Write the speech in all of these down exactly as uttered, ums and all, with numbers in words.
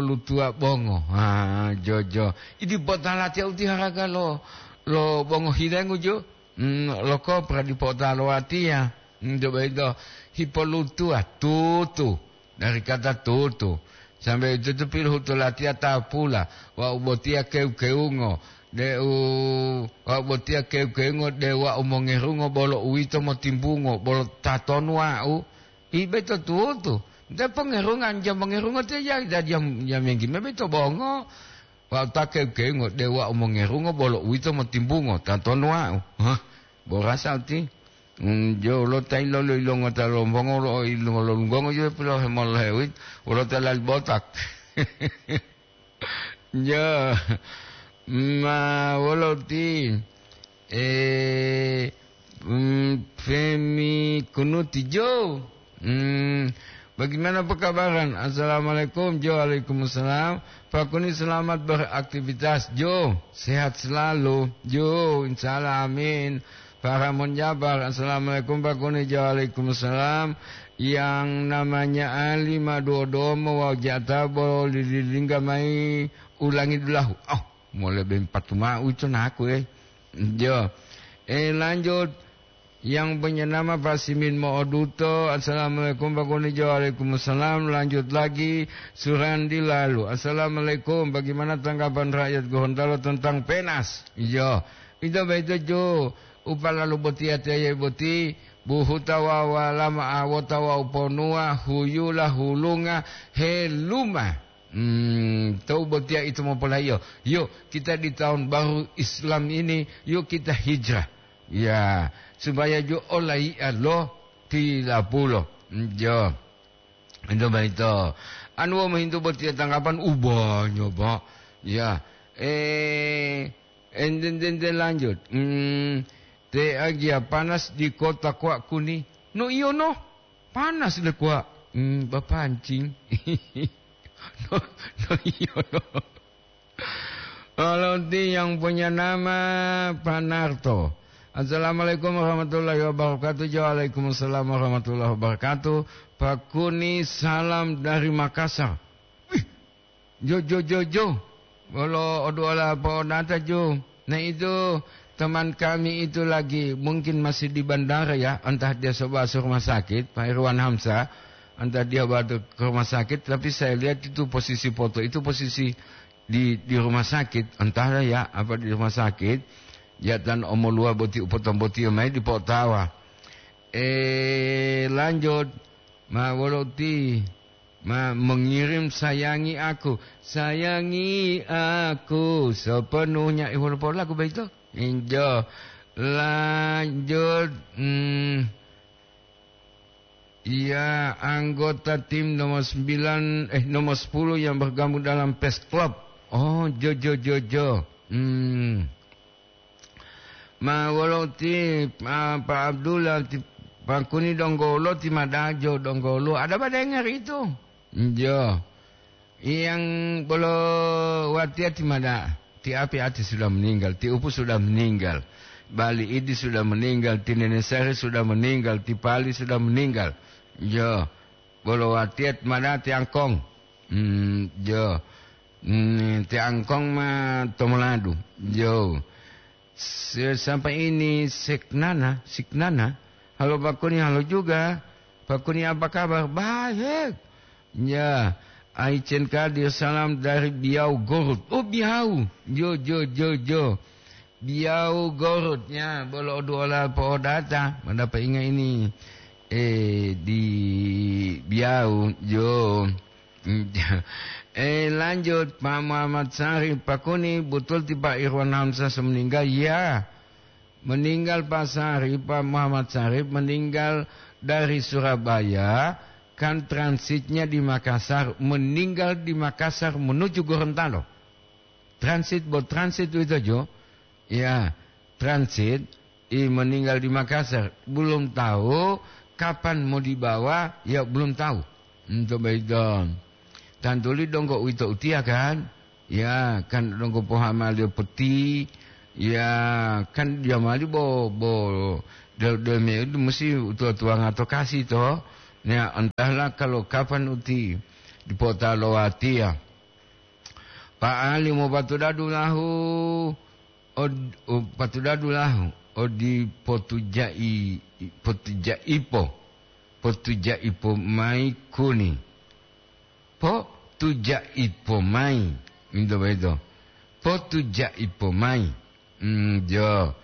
lutuwa bongo. Ah, jojo. Idi potalatiya uti haraga lo, lo bongo hilengu jo. Mm, lo kopra dipo ta lo watiya. Mm, coba ito hipolutuwa tutu. Dari kata tutu. Sampai itu tu pilohutu latiya tapula. Wa'u botiya kewu-kewungo. De'u wa'u botiya kewu-kewungo, de wa'u mongerungo bolo uwito motimbungo, bolo tatonu wa'u. Ibe to tutu. Nte pongerungan jam mongerungo te ya, ya jam, jam yang gimana to bongo. Wa'u ta kewu-kewungo, de wa'u mongerungo bolo uwito motimbungo, tatonu wa'u. Hah, borasa uti. Mm, jo lo ta ilolo-ilongo ta lombongo lo ilongo lo lunggongo jo pilo hemol hewit, wolo ta lali botak. Jo, ma wolo ti, eh, mm, Femi Kunuti jo. Hmm, bagaimana pekabaran? Assalamualaikum, Jo. Waalaikumsalam. Pak Kuni, selamat beraktivitas, Jo. Sehat selalu, Jo. Insya Allah, amin. Pak Ramon Jabar, assalamualaikum, Pak Kuni, Jo. Waalaikumsalam. Yang namanya Ali maduo-duo mo wau jata bo lililingga mai ulangi dulahu. Oh, mau lebih empat mau itu naku, eh. Jo. Eh, lanjut. Yang punya nama Pak Simin Mo'oduto, "Assalamualaikum, Pak Kunijo." "Waalaikumsalam." Lanjut lagi, Surandi lalu, "Assalamualaikum, bagaimana tanggapan rakyat Gorontalo tentang penas?" Iyo, ito boyito ju, upalalu boti ateye boti, buhuta wawa lama awota wawu ponuwa, huyula, hulunga, heluma. Hmm, tou botiya ito mopolayiyo, yo, kita di tahun baru Islam ini, yo kita hijrah. Ya, supaya jo olayi'a lo tilapulo. Jo. Ito boyito. Anu wau mohintu botiya tanggapan u banyak, Pak. Ya. Eh, enten-enten lanjut. Hmm, te agia panas di kota Kuak Kuni. No iyo no. Panas le Kuak. Hmm, bapancing. No, no iyo no. Kalau ti yang punya nama Pak Narto. "Assalamualaikum warahmatullahi wabarakatuh." Jo, "Waalaikumsalam warahmatullahi wabarakatuh. Pak Kuni, salam dari Makassar." Wih, jo, jo, jo, jo. Bolo oduola po'odata jo. Nah, itu teman kami itu lagi mungkin masih di bandara ya, entah dia sebawa rumah sakit, Pak Irwan Hamzah, entah dia bawa ke rumah sakit, tapi saya lihat itu posisi foto, itu posisi di, di rumah sakit, entahlah ya, apa di rumah sakit, ya tan omoluwa boti upotong boti mai di potawa. Eh, lanjut, ma wolo ti, ma mengirim sayangi aku, sayangi aku sepenuhnya. Eh, wolo pola aku baito. Injo, lanjut, hmm, Iya, anggota tim nomor sembilan, eh, nomor sepuluh yang bergabung dalam Pes Club. Oh, jo, jo, jo, jo. Hmm. Ma wolo ti, ah, Pak Abdullah, ti Pak Kuni donggolo, ti Madajo donggolo. Ada badengar itu? Jo. Yang bolo watiya ti Mada, ti Api Ati sudah meninggal, ti Upu sudah meninggal, Bali Idi sudah meninggal, ti Nene Sari sudah meninggal, ti Pali sudah meninggal. Jo, bolo watiya ti Mada ti Angkong. Hmm, jo. Hmm, ti Angkong ma Tomoladu. Jo. Se-, sampai ini Seknana, Siknana. Halo Pak Kuni, halo juga. Pak Kuni, apa kabar? Baik. Ya, Aicen Kadir, salam dari Biau Gorut. Oh, Biau. Jo, jo, jo, jo. Biau Gorut. Ya, bolo oduola po'odata. Mada pa inga ini. Eh, di Biau. Jo. Eh, lanjut, Pak Muhammad Sarif, Pak Kuni, betul ti Pak Irwan Hamzah semeninggal? Ya, meninggal Pak Sarif, Pak Muhammad Sarif meninggal dari Surabaya, kan transitnya di Makassar, meninggal di Makassar menuju Gorontalo. Transit, bo transit itu jo. Ya, transit, i meninggal di Makassar. Belum tahu kapan mau dibawa, ya belum tahu. Untuk begitu. Tantuli donggo uwito utiya kan? Ya, kan donggo pohamaliyo peti. Ya, kan jamali bo, bo, del-, del me itu mesti utua-tuanga to kasi to. Ya, entahlah kalau kapan uti dipota lo watiya. Pa'ali mopatudadu lahu, od-, o, patudadu lahu, odi potujai-, potujaipo, potujaipo mayi kuni. Potujaipo mayi, minto boyito. Potujaipo mayi. Mm, jo.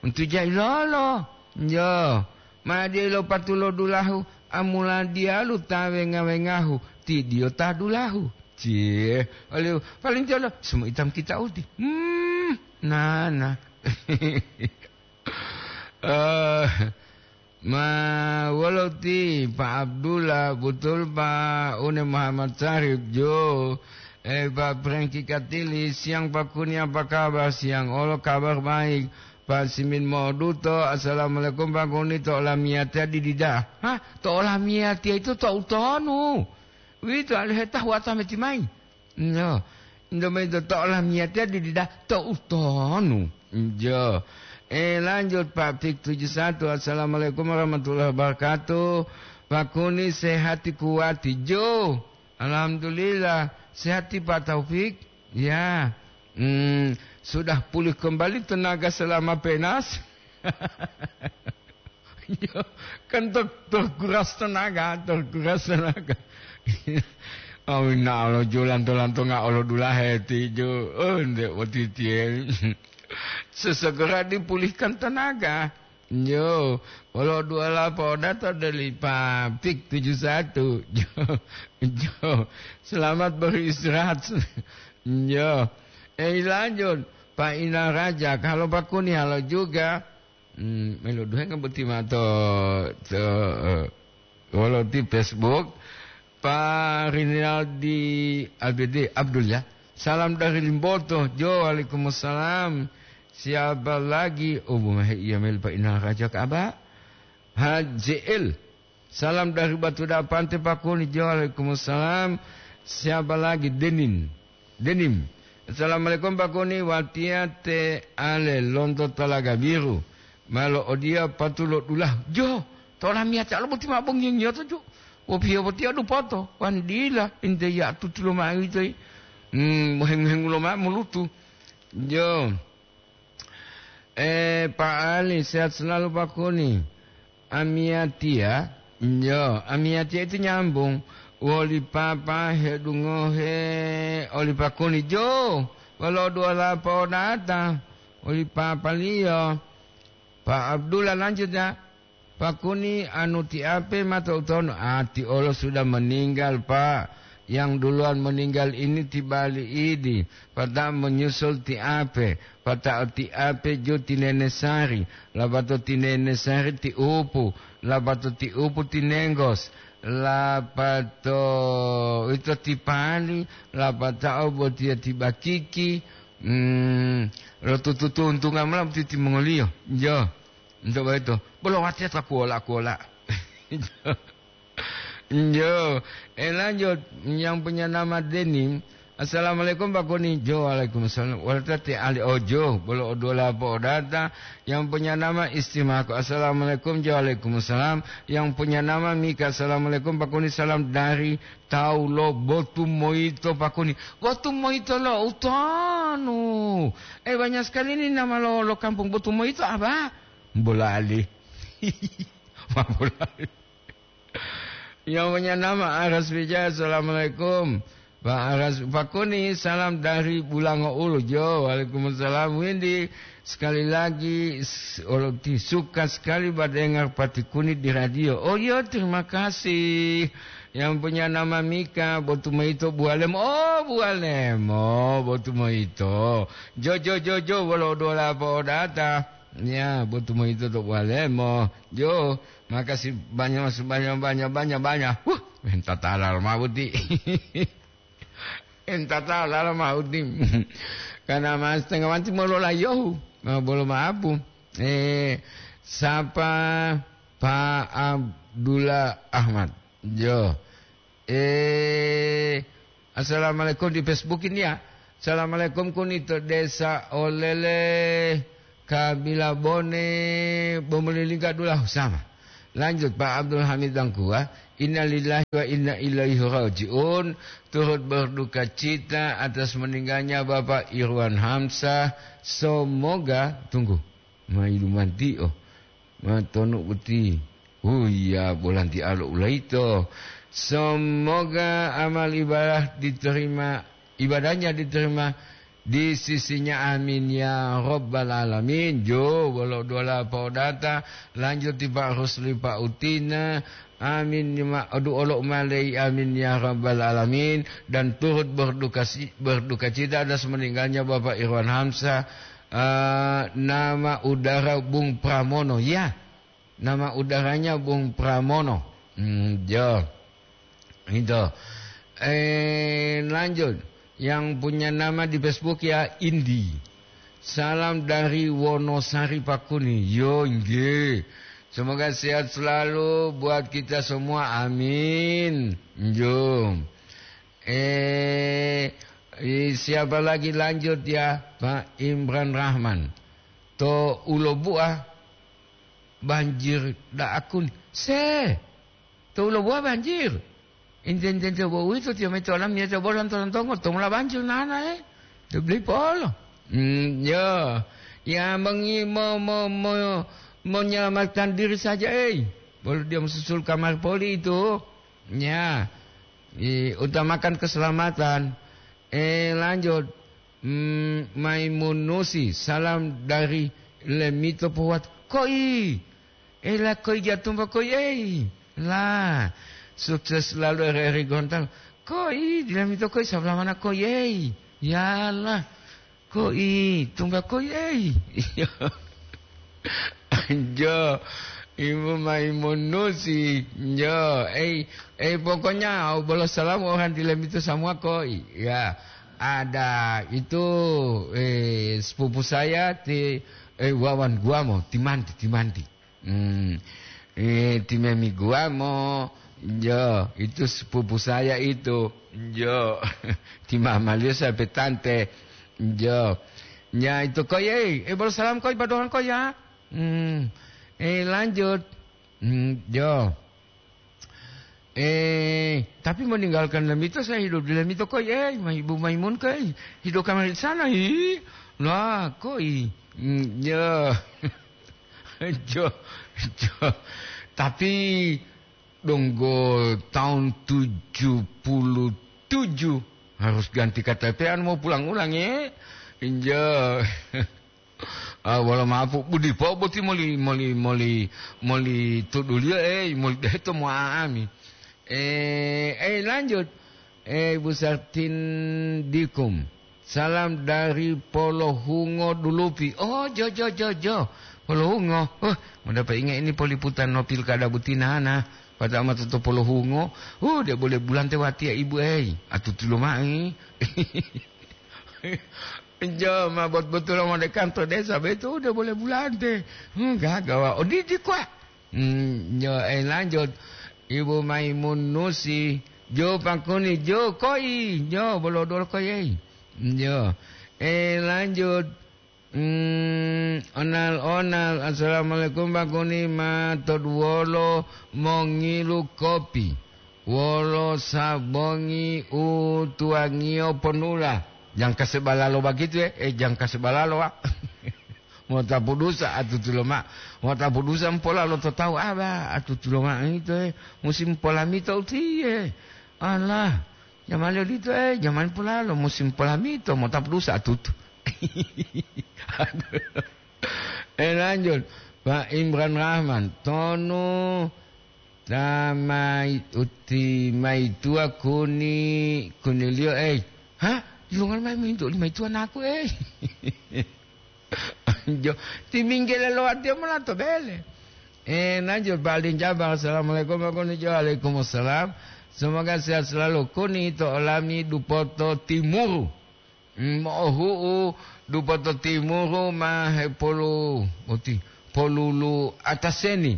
Untu jailolo. Jo. Made lo patulo dulahu, amula diyalu ta wenga-wengahu, ti diyo ta dulahu. Cie. Oliu, paling jolo, semua hitam kita uti. Hmm, nana. Eh, ma, wolo ti, Pak Abdullah, betul, Pak Une Muhammad Syarif, jo. Eh, Pak Franky Katili, siang Pak Kuni, apa kabar? Siang, olo kabar baik. Pak Simin Moduto, assalamualaikum Pak Kuni, to olamiyatiya didida. Hah? To olamiyatiya itu to utonu. Wito aliheta huwata meti mayi. No. Indomito to olamiyatiya didida to utonu. Jo. Eh, lanjut Pak Fik tujuh satu. Assalamualaikum warahmatullahi wabarakatuh. Pak Kuni sehati kuwati. Jo. Alhamdulillah, sehat ti Pak Taufik? Ya. Hmm, sudah pulih kembali tenaga selama penas? Ya, kan ter-, terkuras tenaga, terkuras tenaga. Awina'o lo julanto-lanto nga'o lo dulahe ti ju. Oh, nde otitiye. Sesegera dipulihkan tenaga. Yo, wolo duala po'odata doli pabrik tujuh satu. Yo, yo, selamat beristirahat. Yo, eh, lanjut, Pak Ina Raja, kalau Pak Kuni halo juga, hmm, melo duhenga boti ma to, to, eh, wolo ti Facebook, Pak Rinaldi Abidi Abdul, ya. Salam dari Limboto. Jo, waalaikumsalam. Siapa lagi? Oh, bumahe iya mel Pak Inal Raja ka Aba. H J L. Salam dari Batu Dapante, Pak Kuni. Jo, waalaikumsalam. Siapa lagi? Denin. Denim. Assalamualaikum, Pak Kuni. Watiya te ale lonto Talaga Biru. Ma lo'odiya patulo dulahu. Jo, to olamiyatiya lo boti ma bongiyo-ngiyoto, jo. Wopiyo botiya dupoto. Wan dila, inte ya tutulo ma uwito yi. Hmm, mohengu-hengulo ma molutu. Jo. Eh, Pak Ali, sehat selalu, Pak Kuni. Amiyatiya, jo, amiyatiya itu nyambung woli papa hedungohe oli Pak Kuni. Jo, wolo duala po'odata oli papaliyo. Pak Abdullah lanjut, ya. Pak Kuni, anu ti Ape ma to'u tonu? Ah, ti olo sudah meninggal, Pak. Yang duluan meninggal ini ti bali idi, pata'o menyusul ti Ape, pata'o ti Ape ju ti Nene Sari, lapato ti Nene Sari ti Upu, lapato ti Upu ti Nenggos, lapato ito ti Pali, lapata'o botiya ti Bakiki, mm, lo tutu-tuntunga mola boti timongoliyo. Jo. Nto boyito, bolo watiya ta kuwola-kuwola. Njo, eh, lanjut, yang punya nama Denim. Assalamualaikum, Pak Kuni. Jo, waalaikumsalam. Wala tati ali ojo, bolo odola po'odata. Yang punya nama Istimako. Assalamualaikum, jo, waalaikumsalam. Yang punya nama Mika. Assalamualaikum, Pak Kuni. Salam dari Taulo Botu Moyito, Pak Kuni. Botu Moyito lo utonu. Eh, banyak sekali ini nama lo, lo kampung Botu Moyito, apa? Bola Ali. Pak Bola Ali. Yang punya nama Aras Wijaya, assalamualaikum. Pak Aras, Pak Kuni, salam dari Bulango Ulu, jo. Waalaikumsalam, Windy. Sekali lagi, s-, olo ti suka sekali badengar Pati Kuni di radio. Oh, iya, terima kasih. Yang punya nama Mika, Botu Moyito, Bualemo. Oh, Bualemo, Botu Moyito. Jo, jo, jo, jo, wolo dola po'odata. Ya, Botu Moyito to Bualemo. Jo, makasih banyak, banyak, banyak, banyak, banyak. Wuh, entah talal mauti. Entah talal mauti. Karena mas tengah wanti molola yohu. Ma bolo maapu. Eh, sapa Pak Abdullah Ahmad? Jo. Eh, assalamualaikum di Facebook ini ya. Assalamualaikum Kuni to Desa Olele, Kabila Bone, Bomolilingga Dulahu sama. Lanjut, Pak Abdul Hamid Tangkuwa, "Innalillahi wa inna ilaihi raji'un." Turut berduka cita atas meninggalnya Bapak Irwan Hamsah. Semoga, tunggu, mailumanti'o, matonu uti. Oh iya, bolanti alo ulaito. Semoga amal ibadah diterima, ibadahnya diterima di sisinya. Amin ya rabbal alamin. Jo, wolo dola podata, lanjut ti Pak Rusli, Pak Utina. Amin, ma-, adu olo malei, amin ya rabbal alamin. Dan turut berduka si-, berduka cita atas meninggalnya Bapak Irwan Hamsah, eh, nama udara Bung Pramono. Ya, nama udaranya Bung Pramono. Hmm, jo. Itu. Eh, lanjut. Yang punya nama di Facebook ya, Indi. "Salam dari Wonosari, Pak Kuni." Yo, nggih. Semoga sehat selalu buat kita semua. Amin. Jo. Eh, i-, siapa lagi lanjut ya? Pak Imran Rahman. To Ulobu'a banjir da'akun. Se, to Ulobu'a banjir. Inten-tente bo uwito tiyo mito olam niyato bo lanto-lantongo, to mula banjir nana, eh. To beli polo. Hmm, yo. Ya, mengi-, mo-, mo-, mo-, menyelamatkan diri saja, eh. Bolo dia mesusul kamar poli itu. Ya. I-, utamakan keselamatan. Eh, lanjut. Hmm, Maimunusi, salam dari Lemito Pohuwat. Koi, ela koi jatumba koi, ei. La, sukses selalu R R I Gorontalo. Koi, di Lemito koi, sebelah mana koi, ei? Yalah, koi, tumba koi, ei. Jo, Ibu Maimunusi. Jo, ei, ei, pokoknya, bolo salam orang di Lemito semua koi. Ya, ada itu, eh, sepupu saya ti, eh, Wawan Guamo, Timanti, Timanti. Hmm. Eh, Timemi Guamo, jo, itu sepupu saya itu. Jo, ti mamaliyo sampai tante. Jo. Ya, itu koi, eh, eh, bolo salam koi, padohan koi ya. Hmm. Eh, lanjut. Hmm, jo. Eh, tapi meninggalkan Lemito, saya hidup di Lemito koi, eh, ma-, Ibu Maimun koi, hidup kamar di sana, hi. Lah, koi. Hmm, ya. Jo, jo. Tapi donggo tahun tujuh puluh tujuh harus ganti K T P anu mau pulang ulang, eh. Jo. Ah, wolo mapu, budi po boti moli, moli, moli, moli tuduliyo, eh, moli deto mo aami. Eh, eh, lanjut. Eh, Ibu Sartin Dikum. Salam dari Polohungo Dulupi. Oh, jo, jo, jo, jo. Polohungo. Oh, mau dapat ingat ini poliputan no pilkada butinana. Pada mata to Polohungo. Oh, dia boleh bulante wati ya, Ibu, eh. Atutu lo mai. Jo, ma bot-, botulo mode kanto desa betu udah boleh bulante. Hmm, gagawa. Odidi kwa. Hmm, jo, eh, lanjut. Ibu Maimun Nusi. Jo, Pak Kuni, jo, koi. Jo, bolo dol koi, eh. Jo. Eh, lanjut. Hmm, onal-onal. Assalamualaikum, Pak Kuni. Ma toduwolo mongilu kopi. Wolo sabongi u tuwangiyo ponula. Jangka sebalalo bagitu, eh? Eh, jangka sebalalo, wa. Motapu dusa atutulo ma. Motapu dusa mpola lo to tawu, aba, atutulo ma ito, eh. Musim polamito utiye. Alah, jamali odito, eh, jamali polalo, musim polamito, motapu dusa atutu. Eh, lanjut. Pak Imran Rahman, tonu Ta mai-, uti maituwa kuni, kuniliyo, ei. Ha? Yilonga mayi mintu oli maituwa naku, ei. Jo, ti minggele lo watiya mola to bele. Eh, lanjut, Pak Alin Jabang. Assalamualaikum, Pak Kuni. Jo, waalaikumsalam. Semoga sehat selalu. Kuni to olami Dupoto Timuru. Mm, mo'ohu'u Dupoto Timuru ma hepolu-, oti, polulu ataseni.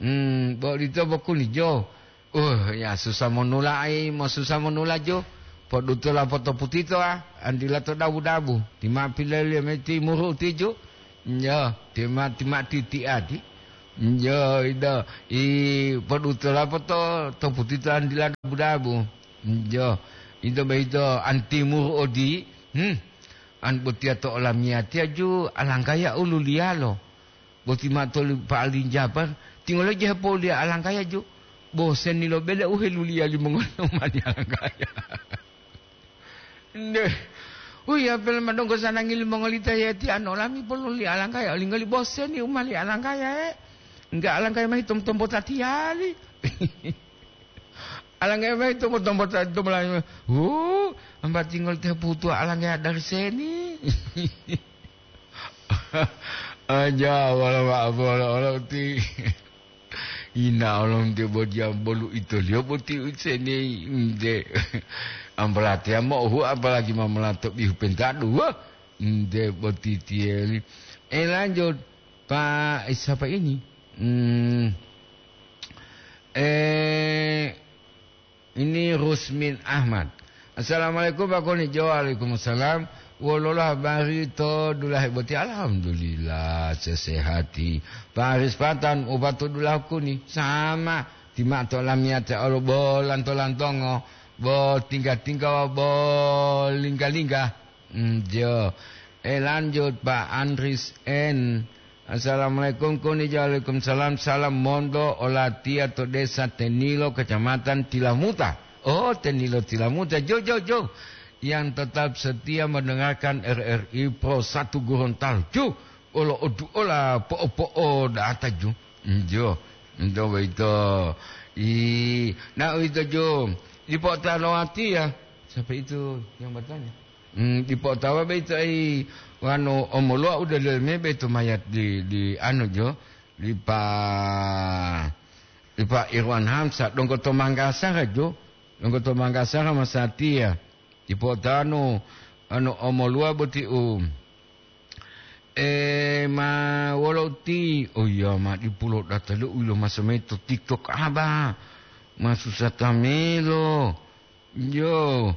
Mm, bo odito bokuni jo. Uh, ya susah monula ai, mo susah monula jo. Podutola poto putito, ah, andila to dabu-dabu. Tima pilele me timuru tiju. Jo, tima, tima titi adi. Jo, ito, i podutola poto, to putito an dila dabu-dabu. Jo, ito boyito an timur odi, hmm, an botiya to olamiyatiya ju alanggaya ululiyalo. Boti ma toli pa'alinjapan, tingolo je hepouliya alanggaya ju, boseni lo bele u heluliya limongoli u ma li alanggaya. Nde, uya pele madonggo sanangi limongoli ta yeti ano lami poluli alanggaya, olinggoli boseni u ma li alanggaya, e. Enggak alanggaya mahi tom-, tombo tatiyali. Alanggaya mayi tombo-tombo ta-, tombo la-, hu, ambatingol te putu alanggaya dari seni. Aja wala wa-, wala, wala uti. Ina olong te bodia bolu itoliyo boti useni nde. Ambalatiya mo hu apalagi mamalato bihu pentadu, wah, nde boti tiyeli. Eh, lanjut, Pak, eh, siapa ini? Hmm, eh, Ini Rusmin Ahmad. Assalamualaikum, Pak Koni. Jo, waalaikumsalam. Wolola habari to dulahe boti? Alhamdulillah, sesehati. Pak Aris Patan, upatu dulahu kuni. Sama. Tima to lamiyate olo bolan to lantongo. Bo tingga-tingga wa bo lingga-lingga. Hmm, jo. Eh, lanjut, Pak Andris N. Assalamualaikum, Kuni. Waalaikumsalam. Salam monto olatiya to Desa Tenilo, Kecamatan Tilamuta. Oh, Tenilo Tilamuta. Jo, jo, jo. Yang tetap setia mendengarkan R R I Pro satu Gorontalo. Jo, olo odu ola po'o-po'o data, jo. Hmm, jo. Ento boyito. I, na uwito, jo. Dipo talowatiya. Siapa itu yang bertanya? Hmm, dipo'otawa beito ai wanu omoluwa u dalileme beito mayat di, di anu jo, di pa, di pa Irwan Hamzah, donggo to Manggasara jo, donggo to Manggasara masatiya. Dipo'otanu anu omoluwa boti u, eh, ma wolo uti, oh iya, ma dipulo data lo u ilo maso mayi to TikTok aba, ma susah tamelo. Jo.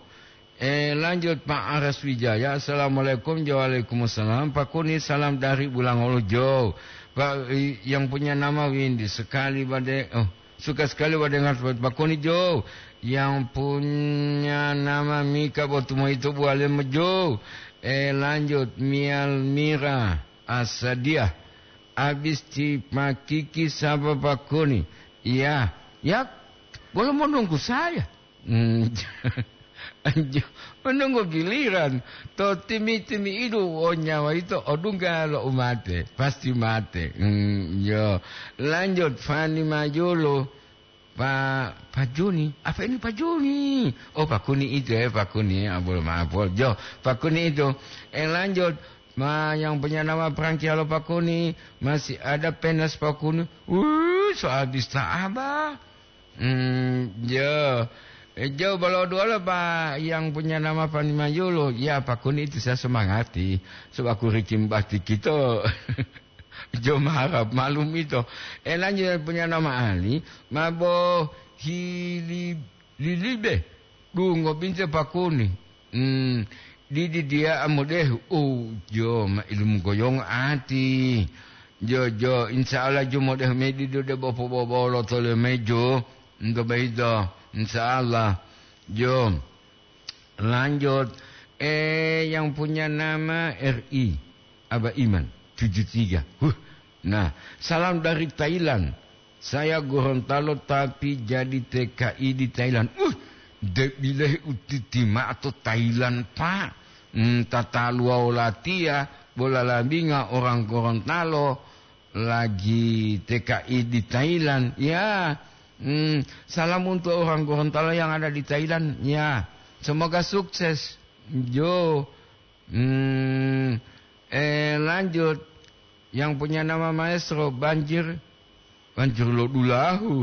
Eh, lanjut Pak Aras Wijaya. Assalamualaikum. Jo, waalaikumsalam. Pak Kuni, salam dari Bulangolo, Jo. Pak, i-, yang punya nama Windy sekali bade, oh, suka sekali bade ngat Pak Kuni, Jo. Yang punya nama Mika Botumoito Bualem, Jo. Eh, lanjut Mialmira Asadiah. Habis ti Pak Kiki sapa Pak Kuni? Iya, ya, boleh menunggu saya. Hmm. Menunggu giliran. To timi-timi'idu o nyawa yito odungga lo umate, pasti mate. Hmm, yo. Lanjut, Fani Majolo. Pa-, Pak Joni. Apa ini Pak Joni? Oh, Pak Kuni itu ya, Pak Kuni. Ah, boleh maaf, boleh. Jo, Pak Kuni itu. Eh, lanjut. Ma, yang punya nama Frankie, halo Pak Kuni. Masih ada penas Pak Kuni. Wuh, soal bisa abah. Hmm, jo. Eh, jo, bolo dua lo, Pak, yang punya nama Fani Mayulo. Ya, Pak Kuni itu saya semangati. Sebab aku rikim bakti kita. Jo, maharap malum itu. Eh, lanjut yang punya nama Ali. Mabo hili lilibe. Dungo binte Pak Kuni. Hmm, didi dia amudehu. Oh, jo, ma ilmu goyong ati. Jo, jo, insya Allah jo modeh medido de bopo-bobolo tole mejo. Ento beito, insya Allah. Jo, lanjut. Eh, yang punya nama R I, Aba Iman, tujuh tiga. Huh. Nah, salam dari Thailand. Saya Gorontalo tapi jadi T K I di Thailand. Uh, debilehi utiti ma'o to Thailand, Pak. Hmm, tataluwa olatiya, bola labinga orang Gorontalo lagi T K I di Thailand. Ya, hmm, salam untuk orang Gorontalo yang ada di Thailand. Ya, semoga sukses. Jo, hmm, eh, lanjut. Yang punya nama Maestro Banjir, Banjir Lodulahu.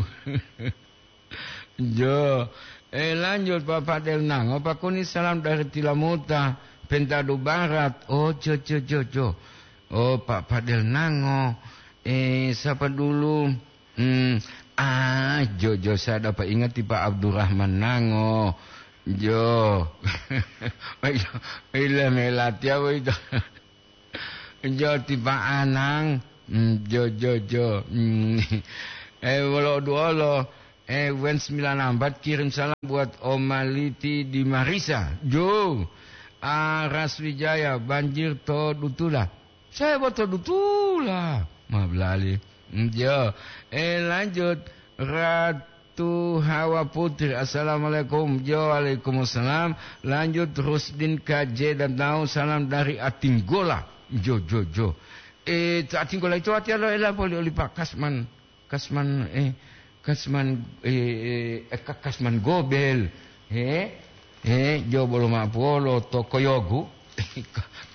Jo, eh, lanjut Bapak Del Nango, Pak Kuni salam dari Tilamuta, Pentado Barat. Oh, jo, jo, jo, jo. Oh, Pak Fadel Nango. Eh, siapa dulu? Hmm, ah, jo, jo, saya dapat ingat di Pak Abdurrahman Nango. Jo. Ila, ila melati apa itu? Jo, ti Pak Anang. Mm, jo, jo, jo. Mm. Eh, wolo duolo. Eh, Wen sembilan empat kirim salam buat Omaliti di Marisa. Jo. Aras Wijaya, banjir to Dutula. Saya buat to Dutula. Ma belali. Mm, jo. Eh, lanjut. Ratu Hawa Putri, assalamualaikum. Jo, waalaikumsalam. Lanjut, Rusdin K J dan tahu salam dari Atinggola. Jo, jo, jo. Eh, Atinggola itu hati lo ela poli oli Pak Kasman. Kasman, eh, Kasman, eh, eh, eh, Ka-, Kasman Gobel. He? He, jo bolo ma polo to Koyogu.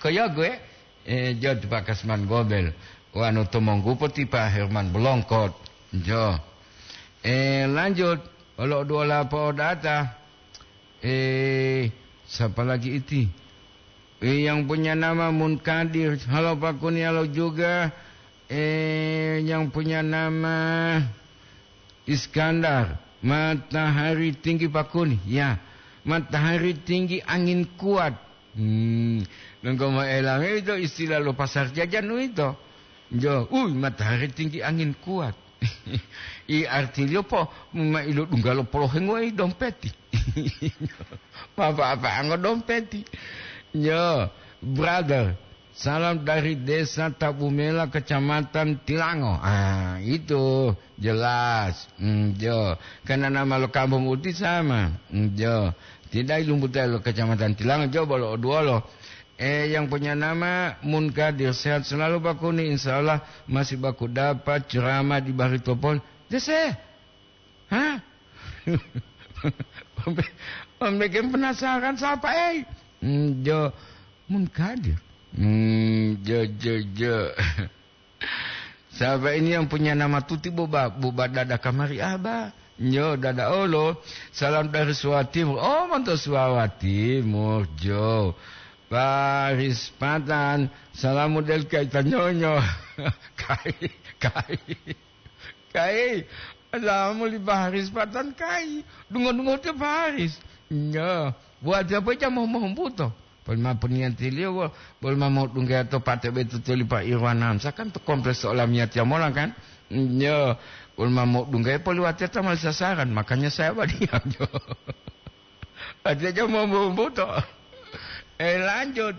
Koyogu, eh? Eh, jo ti Pak Kasman Gobel. Wanu to Monggupo ti Pak Herman Belongkot. Jo. Eh, lanjut. Olo dua lapo data. Eh, siapa lagi iti? Eh, yang punya nama Munkadir. Halo Pak Kuni, halo juga. Eh, yang punya nama Iskandar, matahari tinggi Pak Kuni. Ya, matahari tinggi, angin kuat. Hmm, donggo moela itu istilah lo pasar jajan itu. Jo, ui, matahari tinggi, angin kuat. I artiliyo po, ma ilo dungga lo polohengo i dompeti. Ma apa-apa ango dompeti. Yo, brother, salam dari Desa Tabumela, Kecamatan Tilango. Ah, itu jelas. Hmm, jo. Karena nama lo kampung uti sama. Hmm, jo. Tidak ilumbuta lo Kecamatan Tilango, jo bolo oduolo. Eh, yang punya nama Munkadir, sehat selalu Pak Kuni. Insya Allah masih baku dapat ceramah di Baritopol. Dese? Hah? Membe-, membuat penasaran siapa, eh? Hmm, jo Munkadir. Hmm, jo, jo, jo. Siapa ini yang punya nama Tuti, buba, buba dada kamari aba? Nyo dada olo. Salam dari Suwa Timur. Oh, monto Suwa Timur, jo. Paris Patan. Salamu del kaita nyonyo. Kai, kai. Kai. Salamu li Paris Patan, kai. Dungo-dungo te Paris. Nyo. Buat siapa aja mau, mau buto? Polima puniyan tiliyo, wo, polima modungga to pate betu toli Pak Irwan Hamzah kan to kompleks olamiya tiya mola kan? Yo, polima modungga poliwatiya ta mali sasaran, makanya saya badiam, yo. Artinya mau buto. Eh, lanjut.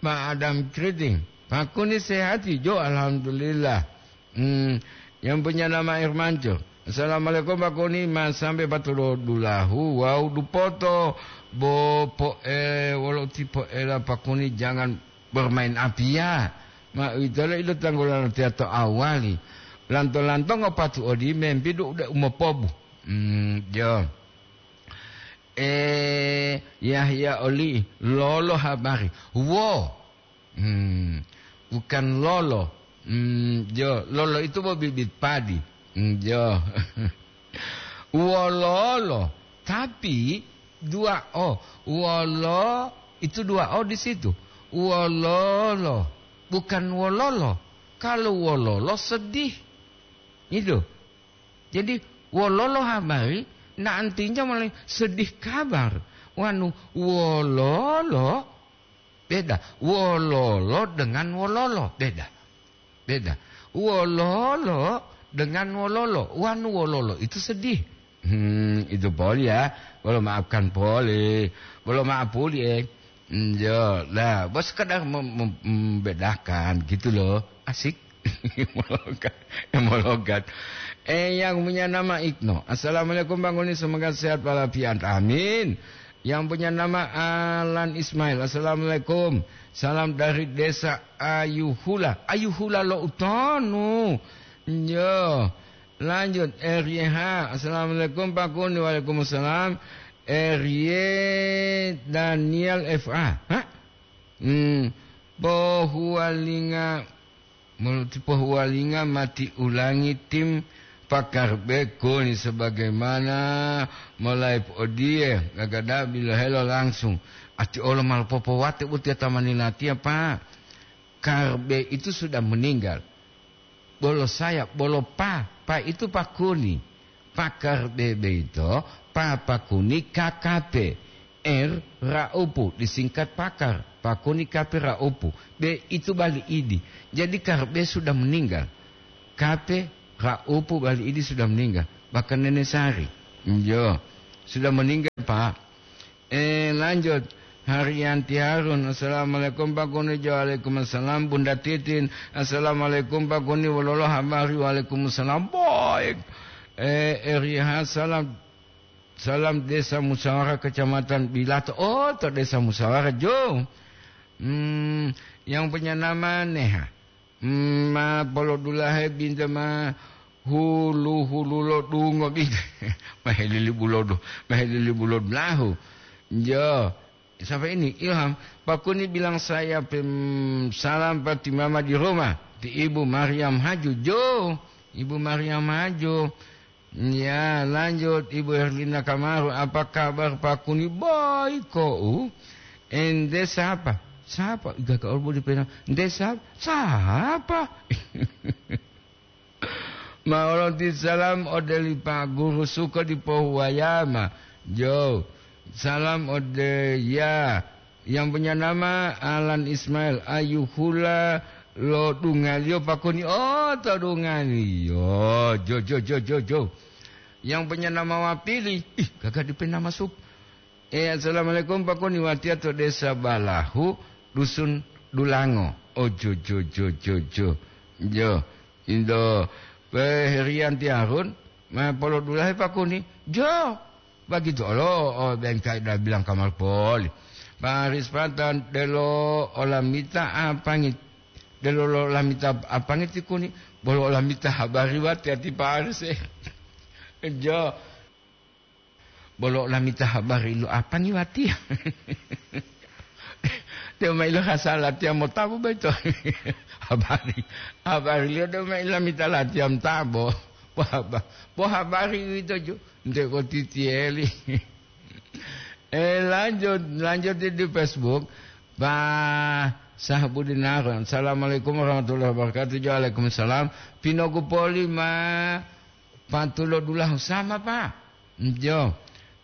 Ma Adam Kriting. Pak Kuni sehati, jo, alhamdulillah. Hmm, yang punya nama Irmanto. Assalamualaikum, Pak Kuni, Mas, sampai patulo dulahu, wau dupoto, bo po, eh, wolo tipo ela, Pak Kuni, jangan bermain api ya. Ma, itolo ilo tanggulan tiato awali. Lanto-lanto ngopatu odi mempi du udah umopobu. Hmm, jo. Eh, Yahya oli, lolo habari. Wo. Hmm, bukan lolo. Hmm, jo, lolo itu bo bibit padi. Hmm, jo. Wololo, tapi dua o. Wolo, itu dua o di situ. Wololo, bukan wololo. Kalau wololo sedih. Itu. Jadi, wololo habari, na artinya mulai sedih kabar. Wanu, wololo, beda. Wololo dengan wololo, beda. Beda. Wololo dengan wololo. Wanu wololo itu sedih. Hmm, itu poli ya. Bolo maafkan poli. Bolo maaf poli, eh. Hmm, yo, lah, bos sekedar mem-, mem-, membedakan gitu loh. Asik. Mologat, mologat. Eh, yang punya nama Igno. Assalamualaikum, Bang Uni, semoga sehat walafiat. Amin. Yang punya nama Alan Ismail. Assalamualaikum. Salam dari Desa Ayuhula. Ayuhula lo utonu. Yo. Lanjut, R Y H. Assalamualaikum, Pak Kuni. Waalaikumsalam. R Y Daniel F A. Hah? Hmm. Pohuwalinga Muluti pohuwalinga mati ulangi tim pakar bekoni sebagaimana mulai odiye gagada bilohelo langsung. Ati olo malopopowate butiya tamani latiya, Pak. Karbe itu sudah meninggal. Bolo saya, bolo pa, pa itu pakuni. Pakar bebe itu, pa pakuni K K P. R, Raupu, disingkat Pakar, pakuni K P Raupu. B, itu bali idi. Jadi, K R B sudah meninggal. K P Raupu bali idi sudah meninggal. Bahkan Nenek Sari. Iyo. Sudah meninggal, Pak. Eh, lanjut. Haryanti Harun, "Assalamualaikum, Pak Kuni." Jo, "Waalaikumsalam." Bunda Titin, "Assalamualaikum, Pak Kuni. Wololo habari?" "Waalaikumsalam." Baik. Eh, R Y H, "Salam, salam Desa Musyawarah Kecamatan Bilato." Oh, to Desa Musyawarah, Jo. Hmm, yang punya nama Neha. Hmm, ma polodulahe binta ma hulu-hulu lo dungo binta. Ma helili bulodu, ma helili bulodu lahu. Jo. Siapa ini? Ilham. "Pak Kuni bilang saya pem-, salam pati mama di rumah. Ti Ibu Mariam Haju." Jo. Ibu Mariam Haju. Ya, lanjut, Ibu Herlina Kamaru, "Apa kabar Pak Kuni?" "Baik kok." "Ente siapa?" "Siapa?" Iga ka olbo di pena. "Ente siapa?" "Siapa?" Ma olonti salam ode li Pak Guru Suko di Pohuwayama. Jo, salam ode ya. Yang punya nama Alan Ismail, ayuhula lo dungaliyo Pak Kuni. Oh, to dungaliyo. Jo, jo, jo, jo, jo. Yang punya nama Wapili. Ih, kagak dipe nama sup. Eh, "Assalamualaikum, Pak Kuni, watiya to Desa Balahu, Dusun Dulango." Oh, jo, jo, jo, jo, jo. Jo, Indo, Pe Herianti Harun, ma polodulahe Pak Kuni. Jo. Begitu olo, oh, bengkai da bilang kamar poli. Pak Aris Patan, delo olamita apangit. Delo lo lamita apangit ti Kuni. Bolo olamita habari wati ati Pak Aris, eh. Jo. Bolo olamita habari lo apani wati. Dia mai lo hasala tiang motabo baito. Habari. Habari liyo dia mai lamita latiya motabo. Bo haba-, bo habari uwito ju. Nte boti tiyeli. Eh, lanjut, lanjut di, di Facebook. Pak Sahbudin Harun. "Assalamualaikum warahmatullahi wabarakatuh." Jo, waalaikumsalam. "Pinogu poli ma patulo dulahu sama, Pak?" Jo.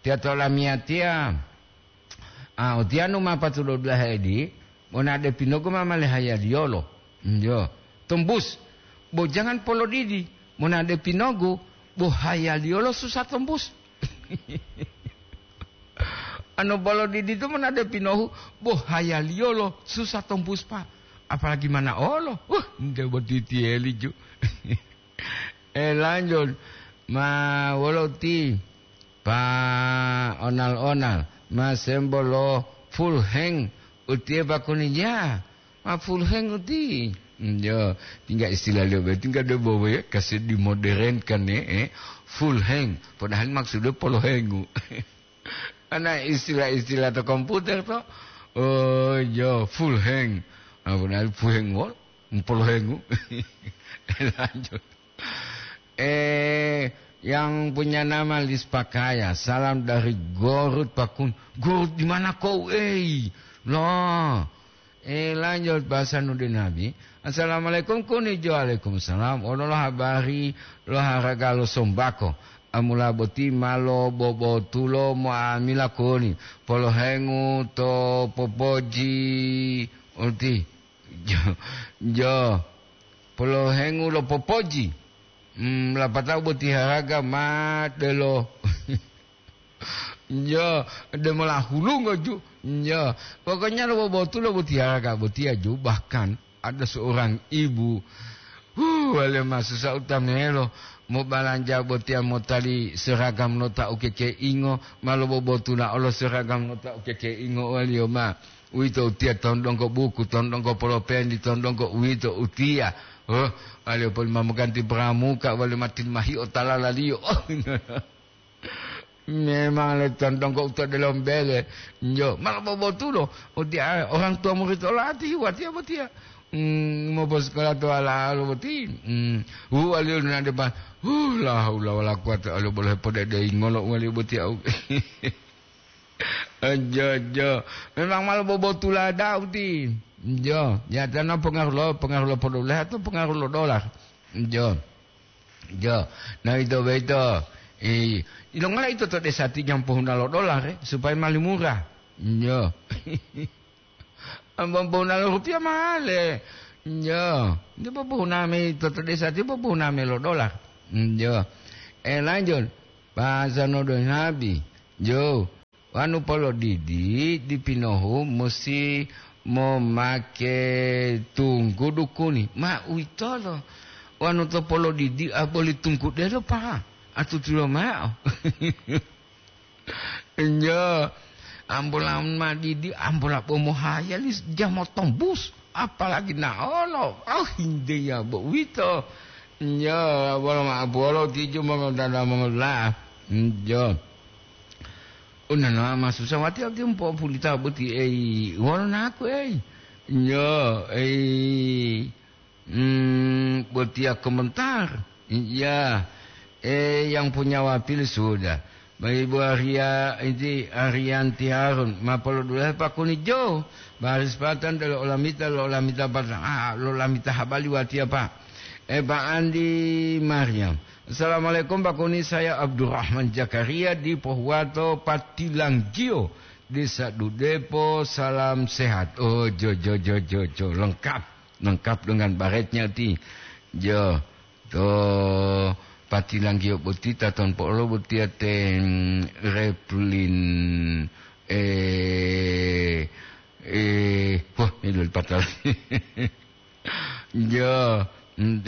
"Tiya to lamiyatiya." Ah, utiyanu ma patulo dulahe edi, monade pinogu ma male hayaliyolo. Jo. Tombus. Bo jangan polodidi, monade pinogu, bo hayaliyolo susah tombus. Anu polodidi tu monade pinohu, bo hayaliyolo susah tombus, Pak. Apalagi mana olo. Wah, nte boti tiyeli ju. Eh, lanjut. Ma wolo ti? Pa onal-onal. Ma sembo lo full hang. Utiye Pak Kuni ya. Ma full hang uti. Hmm, yo, tinggal istilah liyo be, tinggal do bobo ya, kasi dimodernkan ya, eh. Full hang. Padahal maksudnya polo hengu. Ana istilah-istilah to komputer to. Oh, yo, full hang. Ah, padahal full hang wol, polo hengu. Lanjut. Eh, yang punya nama Lis Pakaya, salam dari Gorut Pakun. Gorut di mana kau, eh? Loh. Eh, lanjut bahasa Nudin Nabi. "Assalamualaikum, Kuni." Jo, waalaikumsalam. Ono lo habari lo haraga lo sombako. Amula boti ma lo bobotulo moamila Kuni. Polohengu to popoji uti. Jo, jo. Polohengu lo popoji. Hmm, lapatao boti haraga ma delo. Jo, demola hulungo ju. Jo, pokoknya lo bobotulo boti haraga botiya ju. Bahkan ada seorang ibu, huh, wale masusa utamelo, mobalanja botiya motali seragam nota ukekeingo, ma lo bobotula olo seragam nota ukekeingo waliyo ma. Uwito utiya tondongko buku, tondongko polopendi, tondongko uwito utiya. Oh, waliyo poli ma moganti pramuka, waliyo ma tilmahiyo talalaliyo. Oh, memang le tondongko uto delombele. Jo, ma lo bobotulo. Utiya, orang tua murid olati, watiya botiya. Hmm, moposekola to ala-ala boti. Hmm, hu waliyo na depan. Huh, la haula wala quwata illa billah, pode dei ngolo waliyo botiya. Ojo, ojo. Memang ma lo bobotula da'a uti. Jo, ya tana pengaruh lo, pengaruh lo podolah atau pengaruh lo dolar. Jo. Jo. Nah, itu beito. Eh, ilongola ito to desa ti jam pohuna lo dolar, eh, supaya mali murah. Nyo. Ambo pohuna lo rupiah mahale. Nyo. Dia pohuna me ito to desa ti pohuna me lo dolar. Nyo. Eh, lanjut. Bahasa nodo nabi. Jo. Wanu polodidi di pinohu musi momake tunggu dukuni. Ma uwitolo. Wanu to polodidi a boli tunggu delo pa. Atutulo mao. Njo, ambola madidi, ambola bomohaya li jamo tombus, apalagi naolo. Oh, hinde ya bo uwito. Njo, bolo ma bolo tiju mongodada mongola. Njo. Unana masusa wati ati umpo pulita boti ei. Wolo naku ei. Njo, ei. Hmm, botiya komentar. Iya. Eh, yang punya wapil sudah. Ibu Arya, inti Arianti Harun, mapolodulahe pakuni jo. Baris patan delo olamita, lo olamita patan, ah, lo olamita habali watiya, Pak. Eh, Pak Andi Maryam. Assalamualaikum, Pak Kuni. Saya Abdurrahman Jakaria di Pohuwato Patilanggio, Desa Dudepo. Salam sehat. Oh, jo, jo, jo, jo, jo. Lengkap. Lengkap dengan baretnya ti. Jo, to Patilanggiyo boti taton po'olo botiya te, mm, Replin, eh, eh, wah, ini loli patala. Jo, mm,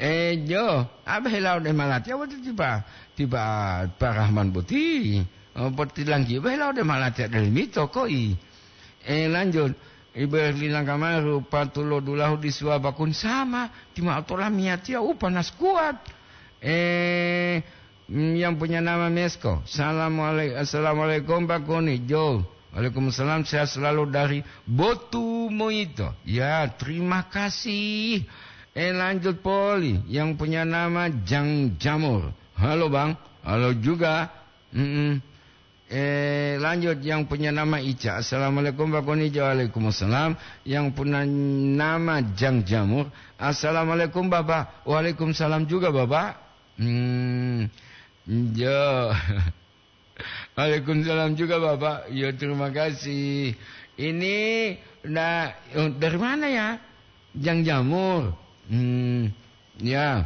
eh, jo, abe hilau de malatiya boti tiba, tiba Pak Rahman boti. Oh, Patilanggiyo be hilau de malatiya de limito koi. Eh, lanjut. Iberlina kamaru patulodulahu di suwaba kun sama, tima'o tolamiyatiya u panas kuwat. Eh, mm, yang punya nama Mesko. Salamualai-, assalamualaikum, Pak Kuni. Jo. Waalaikumsalam, sehat selalu dari Botu Moyito. Ya, terima kasih. Eh, lanjut poli. Yang punya nama Jang Jamur. Halo, Bang. Halo juga. Mm-mm. Eh, lanjut, yang punya nama Ica. Assalamualaikum, Pak Kuni. Waalaikumsalam. Yang punya nama Jang Jamur. Assalamualaikum, Bapak. Waalaikumsalam juga, Bapak. Hmm, jo. Waalaikumsalam juga, Bapak. Ya, terima kasih. Ini, nah, dari mana ya? Jang Jamur. Hmm, ya.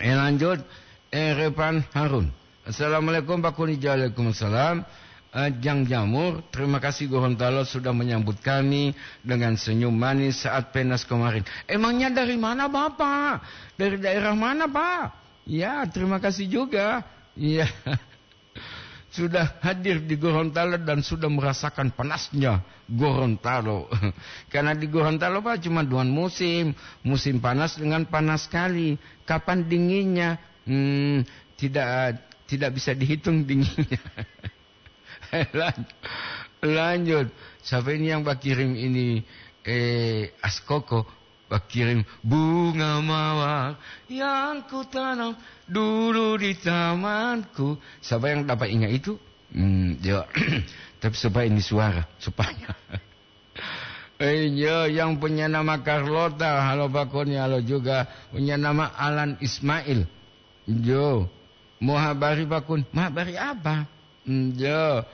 Eh, lanjut, eh, Repan Harun. Assalamualaikum, Pak Kuni. Waalaikumsalam. Eh, Jang Jamur, terima kasih Gorontalo sudah menyambut kami dengan senyum manis saat panas kemarin. Emangnya dari mana, Bapak? Dari daerah mana, Pak? Ya, terima kasih juga. Iya. Sudah hadir di Gorontalo dan sudah merasakan panasnya Gorontalo. Karena di Gorontalo, Pak, cuma dua musim. Musim panas dengan panas sekali. Kapan dinginnya? Hmm, tidak, tidak bisa dihitung dinginnya. Lan-, lanjut. Siapa ini yang Pak kirim ini? Eh, Askoko. Pak kirim bunga mawar yang kutanam dulu di tamanku. Siapa yang dapat ingat itu? Hmm, ya. Tapi supaya ini suara, supaya. Eh, ya, yang punya nama Carlota, halo Pak Kuni, halo juga. Punya nama Alan Ismail. Jo, mau habari, Pak Kun. Mau habari apa? Hmm, jo.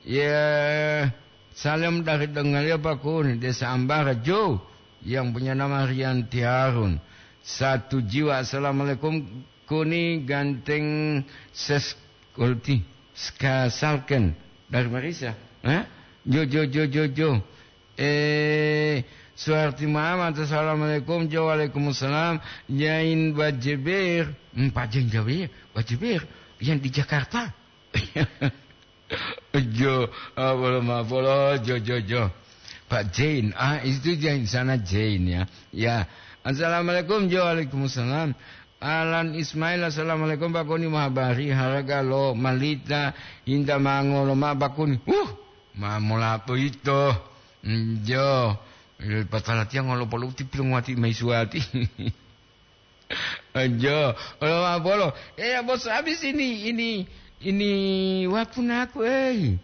Ya, salam dari Dongalia, Pak Kun, Desa Ambara, Jo. Yang punya nama Rianti Harun. Satu jiwa. Assalamualaikum, Kuni, ganteng ses kulti. Skasalken. Dari Marisa. Hah? Jo, jo, jo, jo, jo. Eh, Suharti Muhammad, assalamualaikum. Jo, waalaikumsalam. Jain Bajeber. Hmm, Pak Jain Jaber, Bajeber. Yang di Jakarta. Jo, ah, bolo ma, bolo, jo, jo, jo. Pak Jain, ah, itu Jain, sana Jain ya. Ya. Assalamualaikum, Jo, waalaikumsalam. Alan Ismail, assalamualaikum, Pak Koni, mahabari, haraga lo malita, inta mangolo ma Pak Koni. Huh, ma mola boyito. Njo, patalatiya ngolo poluti pilunguwati maisuwati. Njo, olo ma bolo. Eh, ya, bos, habis ini, ini, ini waktu naku, eh.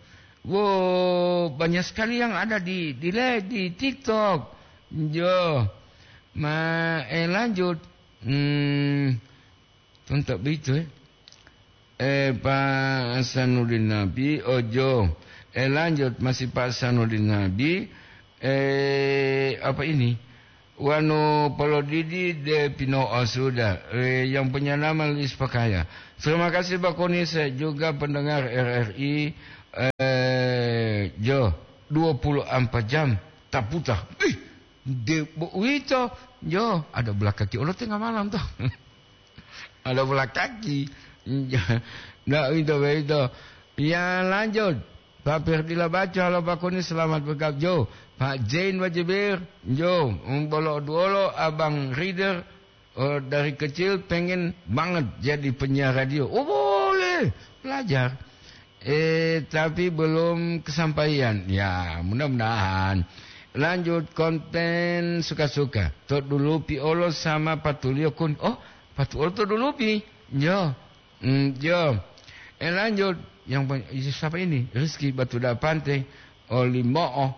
Wo, banyak sekali yang ada di, di le-, di TikTok. Njo. Ma, eh, lanjut. Hmm, tuntok begitu, eh. Eh, Pak Sanudin Nabi, ojo. Eh, lanjut, masih Pak Sanudin Nabi. Eh, apa ini? Wanu polodidi de pino'o sudah. Eh, yang punya nama Luis Pakaya. Terima kasih, Pak Koni. Saya juga pendengar R R I. Eh, jo, dua puluh empat jam taputa. Ih, de, bo, uwito. Jo, ada belakaki olo tengah malam, toh. Ada bola kaki. Ndak uwito boyito. Ya, lanjut. Pak Ferdila Baco, halo Pak Koni, selamat bergabung. Jo, Pak Zain Wajibir, jo, bolo duolo Abang Reader, oh, dari kecil pengen banget jadi penyiar radio. Oh, boleh, belajar. Eh, tapi belum kesampaian. Ya, mudah-mudahan. Lanjut konten suka-suka. To dulupi olo sama patuliyo kun. Oh, patu olo to dulupi. Jo. Hmm, jo. Eh, lanjut. Yang pe-, siapa ini? Rizky Batu Dapante. Olimo'o.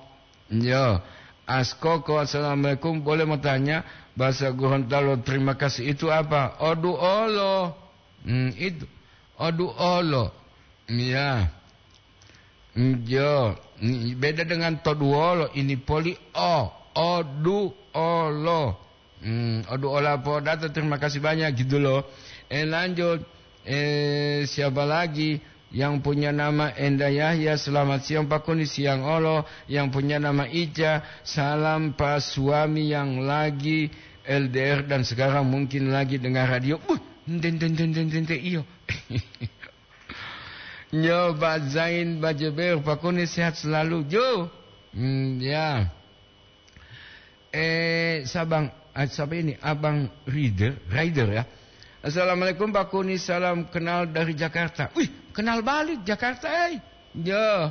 Jo. Askoko, assalamualaikum. Boleh mau tanya bahasa Gorontalo terima kasih itu apa? Odu olo. Hmm, itu. Odu olo. Iya. Jo, beda dengan toduolo, ini poli o, oduolo. Hmm, oduola podato, terima kasih banyak gitu loh. Eh, lanjut. Eh, siapa lagi yang punya nama Enda Yahya? Selamat siang, Pak Koni. Siang olo. Yang punya nama Ica, salam Pak, suami yang lagi L D R dan sekarang mungkin lagi dengar radio. Buh, ente, ente, ente, ente, ente, iyo. Nyo, Pak Zain Bajeber, Pak Koni sehat selalu, Jo. Hmm, ya. Eh, Sabang, ah, siapa ini? Abang Rider, Rider ya. Assalamualaikum, Pak Koni, salam kenal dari Jakarta. Wih, kenal balik Jakarta, eh. Jo.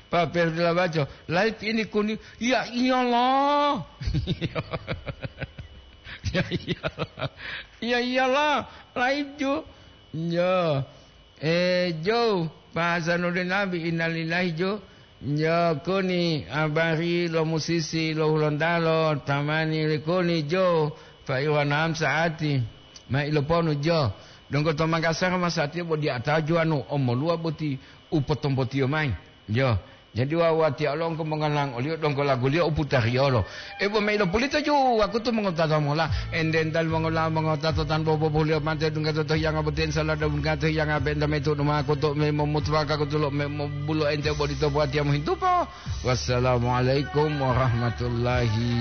Pak Ferdila Baco, live ini Koni. Ya iyalah. Ya iyalah. Ya iyalah, live, Jo. Yo. Eh, Jo, Pak Hasanuddin Nabi, innalillahi, Jo. Yo, Koni, abari lo musisi lo Hulontalo, tamani le Koni, Jo, Pak Iwan Hamsa ati, ma iloponu, Jo. Donggo to Makassar, masatiya bo diata juwanu omoluwa boti u potombotiyo mayi. Yo. Jadi wawu watiya olongko mongalang oliyo donggo laguliyo u putariyolo. E, bo mayi lo pulito ju wakutu mongotata mola. Ende ental mongola mongotato tan bobo buliyo mate dungga to hiyanga boten sala da dungga to hiyanga benda metu duma kutu me momutuwa ka kutu lo me mobulo ente bodito buatiya mohintupo. Wassalamualaikum warahmatullahi